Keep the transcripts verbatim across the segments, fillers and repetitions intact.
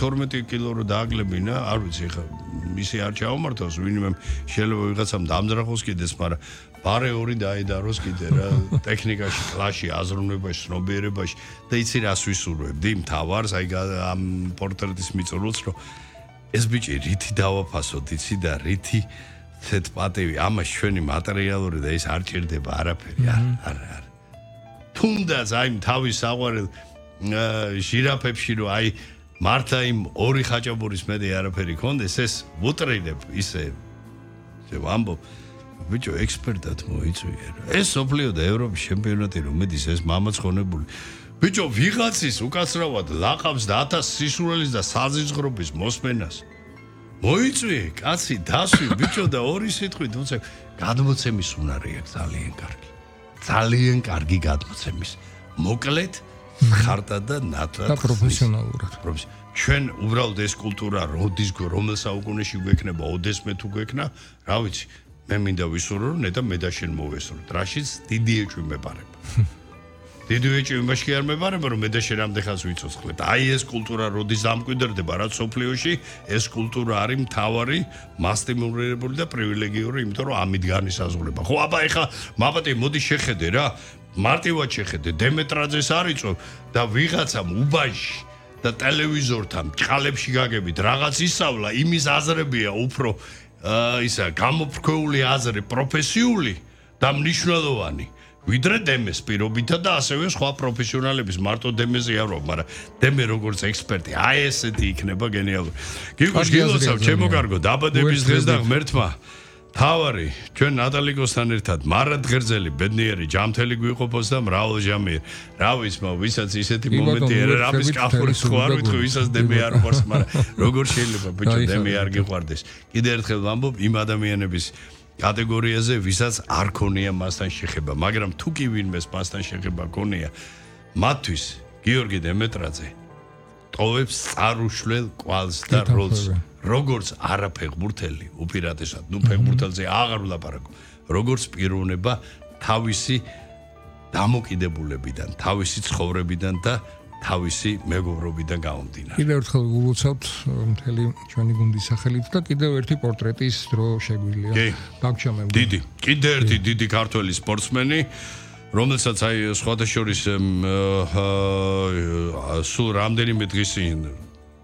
თორმეტი კილო რო დააგლებინა, არ ვიცი ხა ისე არ ჩაომართავს, ვინმე შეიძლება ვიღაცამ დამძრახოს კიდეს, მაგრამ ბარე ორი დაედაროს კიდე რა, ტექნიკაში, კლასში, აზროვნებაში, ცნობიერებაში და იცი რას ვისურვებდი, მთავარს, აი ამ პორტრეტის მიწურულს, რომ ეს ბიჭი რითი დავაფასოთ, იცი და რითი ცეთ პატივი, ამას ჩვენი მატერიალური და ის არ ჭირდება არაფერი, არ, არ, არ. თუნდაც აი თავის საყვარელ ჟირაფებში რომ აი მართა იმ ორი ხაჭაპურის მეტი არაფერი ქონდეს, ეს ვუტრინებ ისე ვამბობ ბიჭო ექსპერტად მოიწვიე რა. ეს სოფლიო და ევროპის ჩემპიონატი რომ მედის ეს მამაცხონებული. ბიჭო ვიღაცის უკაცრავად ლაყავს და ათას სისულელის და საზიზღრობის მოსმენას. მოიწვიე კაცი დასვი ბიჭო და ორი სიტყვით უცებ გადმოცემის უნარი აქვს ძალიან კარგი. ძალიან კარგი გადმოცემის. მოკლედ ხარტა და ნათლად და პროფესიონალურად. ჩვენ უბრალოდ ეს კულტურა როდის რომელ საუკუნეში გვექნება, ოდესმე თუ გვექნა, რა ვიცი, მე მინდა ვისურვო, რომ ნეტა მე და შენ მოვესურვოთ. რაშიც დიდი ეჭვი მეპარება. დიდი ეჭვი იმაში არ მეპარება, რომ მე და შენ ამდენ ვიცოცხლეთ. აი ეს კულტურა როდის დამკვიდრდება რა სოფლიოში, ეს კულტურა არის მთავარი, მასტიმულირებული და პრივილეგიური, იმიტომ რომ ამით განისაზღვრება. ხო, აბა ეხა მაპატი მოდი შეხედე რა. მარტივად შეხედე, დემეტრაძეს არიწო და ვიღაცამ უბანში და ტელევიზორთან ჭყალებში გაგებით რაღაც ისავლა, იმის აზრებია უფრო ისა გამოფრქვეული აზრი, პროფესიული და მნიშვნელოვანი. ვიდრე დემეს პირობითა და ასევე სხვა პროფესიონალების მარტო დემეზე არ ვარ, მაგრამ დემე როგორც ექსპერტი, აი ესეთი იქნება გენიალური. გიგუშ გილოცავ, ჩემო კარგო, დაბადების დღეს და ღმერთმა თავარი ჩვენ ნატალიკოსთან ერთად მარად ღერძელი ბედნიერი ჯამთელი გვიყოფოს და მრავალ ჟამიერ. რა ვიცი, მაგრამ ვისაც ისეთი მომენტი არა, რამის კაფურის ხო არ ვიტყვი, ვისაც დემე არ ყვარს, მაგრამ როგორ შეიძლება ბიჭო დემე არ გიყვარდეს. კიდე ერთხელ ვამბობ იმ ადამიანების კატეგორიაზე, ვისაც არ ქონია მასთან შეხება, მაგრამ თუ კი ვინმეს მასთან შეხება ქონია, მათთვის გიორგი დემეტრაძე ტოვებს წარუშლელ კვალს და როლს. როგორც არაფეხბურთელი, უპირატესად, ნუ ფეხბურთელზე აღარ ვლაპარაკო, როგორც პიროვნება თავისი დამოკიდებულებიდან, თავისი ცხოვრებიდან და თავისი მეგობრობიდან გამომდინარე. კიდევ ერთხელ გულოცავთ მთელი ჩვენი გუნდის სახელით და კიდევ ერთი პორტრეტის დრო შეგვიძლია. დაგჩამებ. დიდი, კიდევ ერთი დიდი ქართველი სპორტსმენი, რომელსაც აი სხვათა შორის სულ რამდენიმე დღის წინ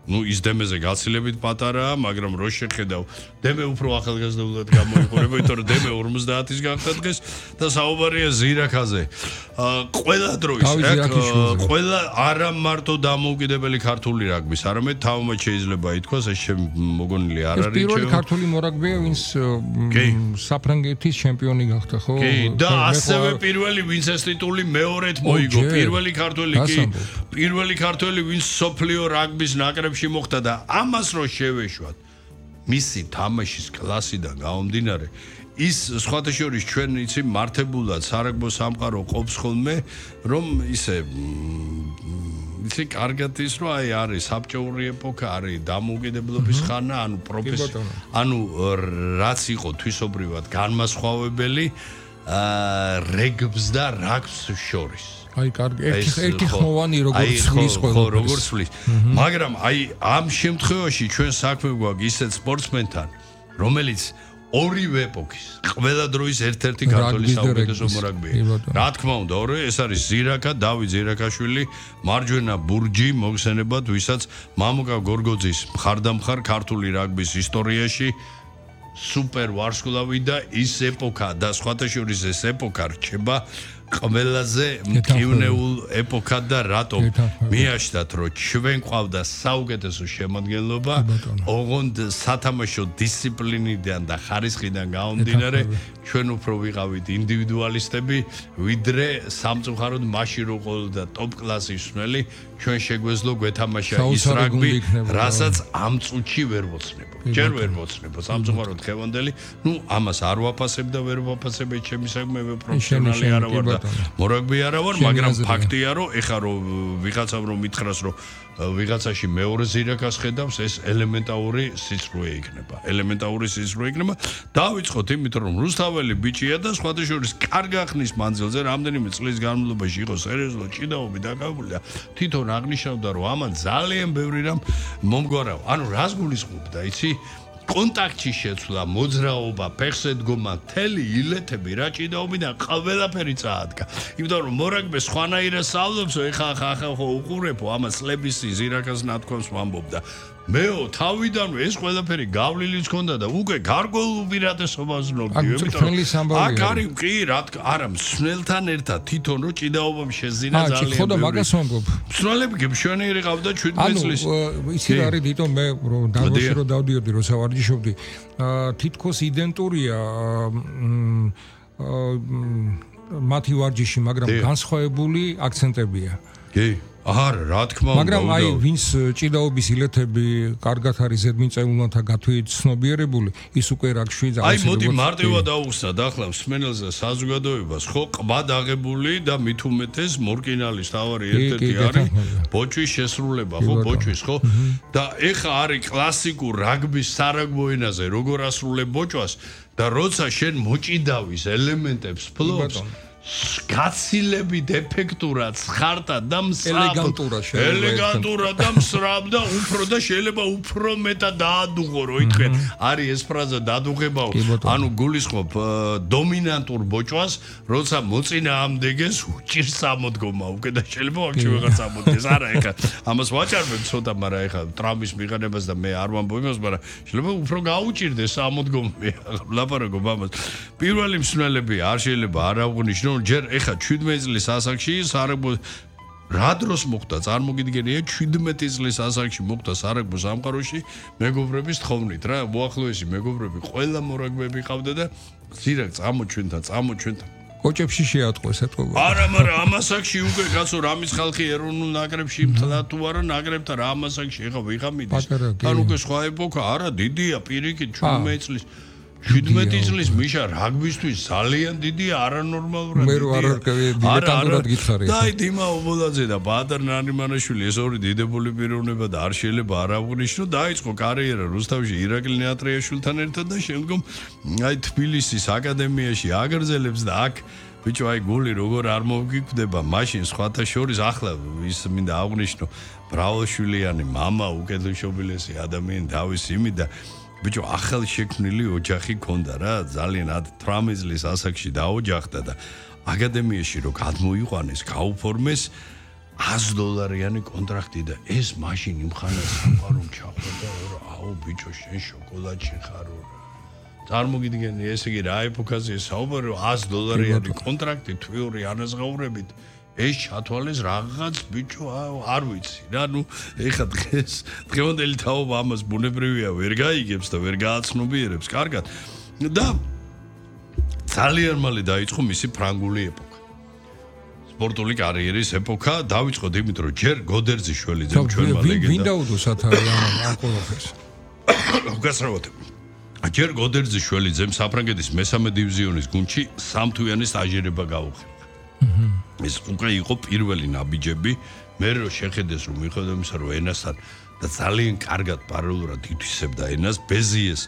ну ის დემეზე გაცილებით პატარაა, მაგრამ რო შეხედავ, დემე უფრო ახალგაზრდულად გამოიყურება, იმიტომ რომ დემე ორმოცდაათის გახდა დღეს და საუბარია ზირაქაზე. ყველა დროის, ყველა არა მარტო დამოუკიდებელი ქართული რაგბის, არამედ თავმოც შეიძლება ითქვას, ეს მოგონილი არ არის. პირველი ქართული მორაგბია, ვინც საფრანგეთის ჩემპიონი გახდა, ხო? კი, და ასევე პირველი, ვინც ეს ტიტული მეორედ მოიგო, პირველი ქართველი კი, პირველი ქართველი, ვინც სოფლიო რაგბის ნაკრებში მოხდა და ამას რო შევეშვათ მისი თამაშის კლასიდან გამომდინარე ის სხვათა შორის ჩვენ იცი მართებულად სარაგბო სამყარო ყოფს ხოლმე რომ ისე იცი კარგად ის რომ აი არის საბჭოური ეპოქა არის დამოუკიდებლობის ხანა ანუ პროფესია ანუ რაც იყო თვისობრივად განმასხვავებელი რეგბს და რაგბს შორის აი კარგი ერთი ერთი ხოვანი როგორც ხმის ხო როგორც ხმის მაგრამ აი ამ შემთხვევაში ჩვენ საქმე გვაქვს ისეთ სპორტსმენთან რომელიც ორივე ეპოქის ყველა დროის ერთ-ერთი ქართული საუკეთესო მორაგბია რა თქმა უნდა ორი ეს არის ზირაკა დავით ზირაკაშვილი მარჯვენა ბურჯი მოგხსენებათ ვისაც მამუკა გორგოძის მხარდამხარ ქართული რაგბის ისტორიაში სუპერ ვარსკვლავი და ის ეპოქა და სხვათა შორის ეს ეპოქა რჩება ყველაზე მტკივნეულ ეპოქა და რატომ მიაშთათ რომ ჩვენ ყავდა საუკეთესო შემადგენლობა ოღონდ სათამაშო დისციპლინიდან და ხარისხიდან გამომდინარე ჩვენ უფრო ვიყავით ინდივიდუალისტები ვიდრე სამწუხაროდ მაშინ რო ყოლოდა ტოპ კლასის მსმელი ჩვენ შეგვეძლო გვეთამაშა ის რაგბი რასაც ამ წუთში ვერ მოცნებო ჯერ ვერ მოცნებო სამწუხაროდ ხევანდელი ნუ ამას არ ვაფასებ და ვერ ვაფასებ ჩემი საქმე მე პროფესიონალი არა ვარ და მორაგბი არა ვარ, მაგრამ ფაქტია რომ ეხა რომ ვიღაცამ რომ მითხრას რომ ვიღაცაში მეორე ზირაკას ხედავს, ეს ელემენტარული სიცრუე იქნება. ელემენტარული სიცრუე იქნება. დავიწყოთ იმით, რომ რუსთაველი ბიჭია და სხვათა შორის კარგახნის მანძილზე რამდენიმე წლის განმავლობაში იყო სერიოზულად ჭიდაობი დაკავებული და თვითონ აღნიშნავდა, რომ ამან ძალიან ბევრი რამ მომგვარავ. ანუ რას გულისხმობდა, იცი? კონტაქტში შეცვლა, მოძრაობა, ფეხზე დგომა, მთელი ილეთები რა ჭიდაობიდან ყველაფერი წაადგა. იმიტომ რომ მორაგბე სხვანაირად სწავლობსო, ეხა ახლა ხო უყურებო, ამას სლების ზირაკას ნათქვამს ვამბობდა. მეო თავიდან ეს ყველაფერი გავლილიც ქონდა და უკვე გარკვეულ უპირატესობას ვნობდი. იმიტომ აქ არის კი რა არა მსნელთან ერთად თვითონ რო ჭიდაობამ შეზინა ძალიან. ხო და მაგას ვამბობ. მსნელები გემშვენიერი ყავდა შვიდმეტ წლის. ანუ იცი რა არის თვითონ მე რომ დავაში რომ დავდიოდი რომ სავარჯიშობდი, თითქოს იდენტურია მათი ვარჯიში, მაგრამ განსხვავებული აქცენტებია. კი. არა, რა თქმა უნდა. მაგრამ აი ვინც ჭიდაობის ილეთები კარგად არის ზედმიწეულნათა გათვით ცნობიერებული, ის უკვე რაგში აი მოდი მარტივად აუხსნათ ახლა მსმენელზე საზოგადოებას, ხო, ყბად აღებული და მით უმეტეს მორკინალის თავარი ერთ-ერთი არის ბოჭვის შესრულება, ხო, ბოჭვის, ხო? და ეხა არის კლასიკურ რაგბის სარაგბო ენაზე როგორ ასრულებ ბოჭვას და როცა შენ მოჭიდავის ელემენტებს ფლობს გაცილებით ეფექტურად ცხარტა და მსრაბ ელეგანტურად და მსრაბ და უფრო და შეიძლება უფრო მეტად დაადუღო რო ითქვენ არის ეს ფრაზა დადუღებაო ანუ გულისხმობ დომინანტურ ბოჭვას როცა მოწინააღმდეგეს უჭირს ამოდგომა უკვე და შეიძლება აქ ვეღარ წამოდგეს არა ეხა ამას ვაჭარბებ ცოტა მაგრამ ეხა ტრამვის მიღანებას და მე არ ვამბობ იმას მაგრამ შეიძლება უფრო გაუჭირდეს ამოდგომა ლაპარაკობ ამას პირველი მსმენელები არ შეიძლება არ აღნიშნო ჯერ ეხა შვიდმეტ წლის ასაკში სარაგბო რა დროს მოხდა წარმოგიდგენია შვიდმეტ წლის ასაკში მოხდა სარაგბო სამყაროში მეგობრების თხოვნით რა მოახლოესი მეგობრები ყველა მორაგბები ყავდა და ზირაკ წამოჩვენთა წამოჩვენთა კოჭებში შეატყვეს ეთქობა არა მაგრამ ამასაკში უკვე კაცო რამის ხალხი ეროვნულ ნაკრებში მთლად თუ არა ნაკრებთან რა ამასაკში ეხა ვიღა მიდის თან უკვე სხვა ეპოქა არა დიდია პირიქით შვიდმეტ წლის შვიდმეტ წლის მიშა რაგბისთვის ძალიან დიდია არანორმალურად მე რო არ არკევი დილეტანტურად გითხარი და აი დიმა ობოლაძე და ბადარ ნარიმანაშვილი ეს ორი დიდებული პიროვნება და არ შეიძლება არ აღნიშნო დაიწყო კარიერა რუსთავში ირაკლი ნეატრიაშვილთან ერთად და შემდგომ აი თბილისის აკადემიაში აგრძელებს და აქ ბიჭო აი გული როგორ არ მოგიკვდება მაშინ სხვათა შორის ახლა ის მინდა აღნიშნო ბრავოშვილიანი мама უკეთილშობილესი ადამიანი დავის იმი და ბიჭო ახალ შექმნილი ოჯახი ქონდა რა ძალიან ათრამეტ წლის ასაკში დაოჯახდა და აკადემიაში რო გადმოიყვანეს გაუფორმეს ათი დოლარიანი კონტრაქტი და ეს მაშინ იმხანას სამყარო ჩახვდა რა აუ ბიჭო შენ შოკოლადში ხარო რა წარმოგიდგენი ესე იგი რა ეპოქაზე საუბარი ათი დოლარიანი კონტრაქტი თვიური ანაზღაურებით ეს ჩათვალეს რაღაც ბიჭო არ ვიცი რა ნუ ეხა დღეს დღევანდელი თაობა ამას ბუნებრივია ვერ გაიგებს და ვერ გააცნობიერებს კარგად და ძალიან მალე დაიწყო მისი ფრანგული ეპოქა სპორტული კარიერის ეპოქა დავიწყოთ იმით რომ ჯერ გოდერძიშვილიძემ ჩვენმა ლეგენდა ვინ დაუდოს ათარი ამ ყველაფერს უგასრავად ჯერ გოდერძიშვილიძემ საფრანგეთის მესამე დივიზიონის გუნდში სამთვიანი სტაჟირება გაუხერხა ეს უკვე იყო პირველი ნაბიჯები მე რო შეხედეს რომ მიხედავ იმისა რომ ენასთან და ძალიან კარგად პარალელურად ითვისებდა ენას ბეზიეს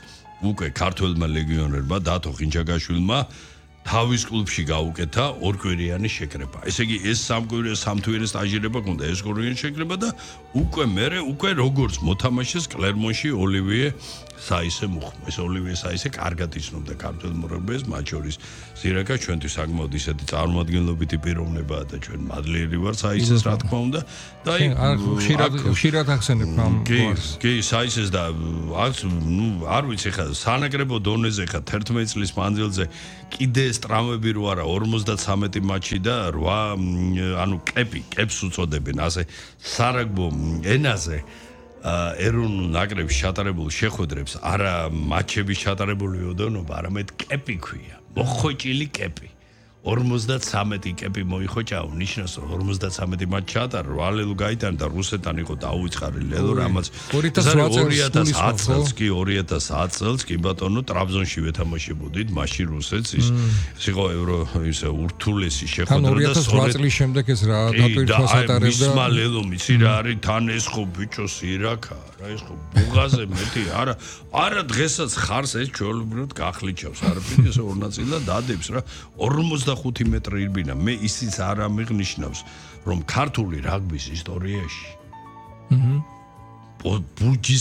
უკვე ქართველმა ლეგიონერმა დათო ხინჯაგაშვილმა თავის კლუბში გაუკეთა ორკვირიანი შეკრება ესე იგი ეს სამკვირე სამთვიანი სტაჟირება ქონდა ეს ორკვირიანი შეკრება და უკვე მე უკვე როგორც მოთამაშეს კლერმონში ოლივიე საისე მუხმა ეს ოლივიე საისე კარგად იცნობდა ქართულ მორაგბეს მათ შორის ზირაკა ჩვენთვის საკმაოდ ისეთი წარმომადგენლობითი პიროვნებაა და ჩვენ მადლიერი ვარ საისეს რა თქმა უნდა და აი ხშირად ხშირად ახსენებ ამ გვარს კი საისეს და ნუ არ ვიცი ხა სანაკრებო დონეზე ხა თერთმეტ წლის მანძილზე კიდე ეს ტრამვები რო არა ორმოცდათრამეტი მატჩი და რვა ანუ კეპი კეპს უწოდებენ ასე სარაგბო ენაზე ეროვნულ ნაკრებში ჩატარებულ შეხვედრებს არა მატჩების ჩატარებული ოდენობა არამედ კეპი ქვია მოხოჭილი კეპი ორმოცდათსამეტი კეპი მოიხოჭა, ნიშნავს რომ ორმოცდათსამეტი მატჩი ჩაატარა, ვალელო გაიტანა და რუსეთთან იყო დაუწყარი ლელო რამაც ორი ათას ათს წელს კი ორი ათას ათს წელს კი ბატონო ტრაბზონში ვეთამაშებოდით მაშინ რუსეთს ის ის იყო ევრო ისე ურთულესი შეხვედრა და ორი ათას ოთხ წლის შემდეგ ეს რა დაპირთვას ატარებდა მისმა ლელო მიცი რა არის თან ეს ხო ბიჭო სირაქა რა ეს ხო ბუღაზე მეტი არა არა დღესაც ხარს ეს ჩვეულებრივად გახლიჩავს არაფერი ეს ორ ნაწილად დადებს რა ორმოცდახუთი მეტრი ირბინა მე ისიც არ ამიღნიშნავს რომ ქართული რაგბის ისტორიაში აჰა ბუჯის